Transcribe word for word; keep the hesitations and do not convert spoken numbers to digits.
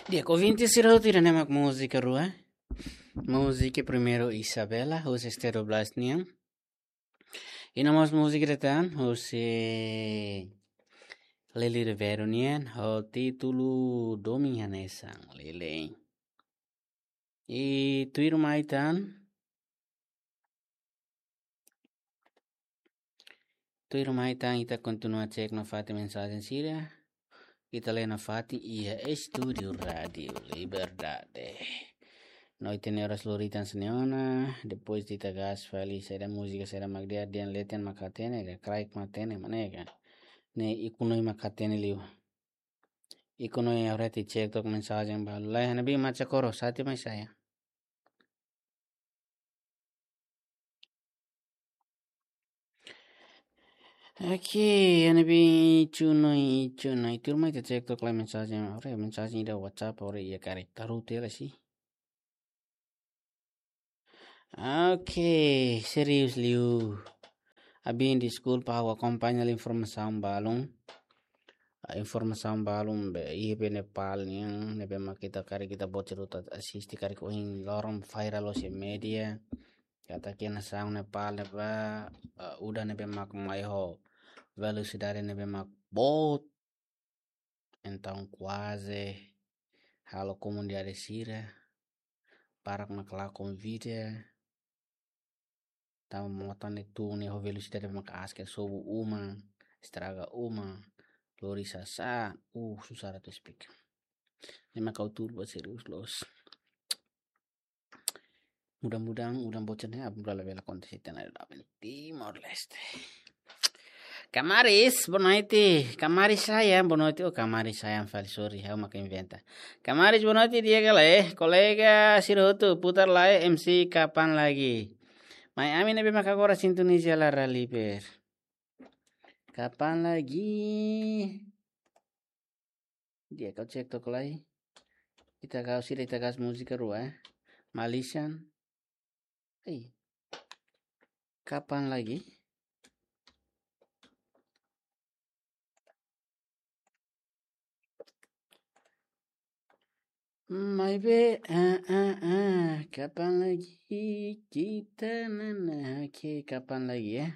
Di'ak, ouvinte sira hotu, ida-ne'e mak múzika rua. Múzika primeiru Isabela, husi Estéreo Blast nian. I no mós múzika ida tan, husi Lili Ribeiro nian, ho títulu Domin Hanesan, Lili. I tuirmai tan, tuirmai tan ita kontinua cek nafatin mensajen sira. Ita lee nafatin iha estúdiu Rádiu Liberdade. No ita-nia oras lori tan hanesan ne'e ona, depois ita gas fali saida múzika, saida mak di'ak, dehan leten mak hatene ka, kraik mak hatene, mane ka. Ne'e ikus no mak hatene liu. Ikus no iha reti cek tok mensajen balu. Lai, Hanabi Macha Koro, sati mai saya. Oke, Hanabi Chunoi, Chunoi. Tuirmai ita cek tok lai mensajen. Ore, mensajen ida WhatsApp, ore, iha karik taru tela sih. Oke, serius liu. Abin deskulpa, ha'u akompaña informasaun balun. Ah, informasaun balun be, iha be Nepal nian, ne'ebé mak ita karik ita bocor ita asiste karik ohin loron viral loos iha media. Katak iha nasaun Nepal ne'ebá, ah, udan ne'ebé mak mai ho velosidade ne'ebé mak boot. Entaun kuaze halo komunidade sira, barak mak lakon vida, tanba mota ne'e tun ne'e ho velosidade mak aas ke sobu uma, estraga uma, lori sasán, uh, susar atu esplika. Ne'e mak ha'u tuur ba serius loos. Mudah-mudahan udan bocor ne'e abra la bela akontese iha ita-nia Timor-Leste. Kamaris, boa noite. Kamaris sayang, boa noite. Oh, Kamaris sayang fali, sorry, ha'u mak inventa. Kamaris, boa noite, di'ak ka lae. Kolega sira hotu, putar lai, M C kapan lagi. Mai ami ne'ebé mak agora sintoniza Lara Liber. Kapan lagi? Di'ak, ha'u cek tok lai. Ita gas, sira ita gas múzika rua, eh. Malaysian. Ei. Kapan lagi? Mai be, ah, ah, ah. Kapan lagi kita nana? Oke, kapan lagi ya?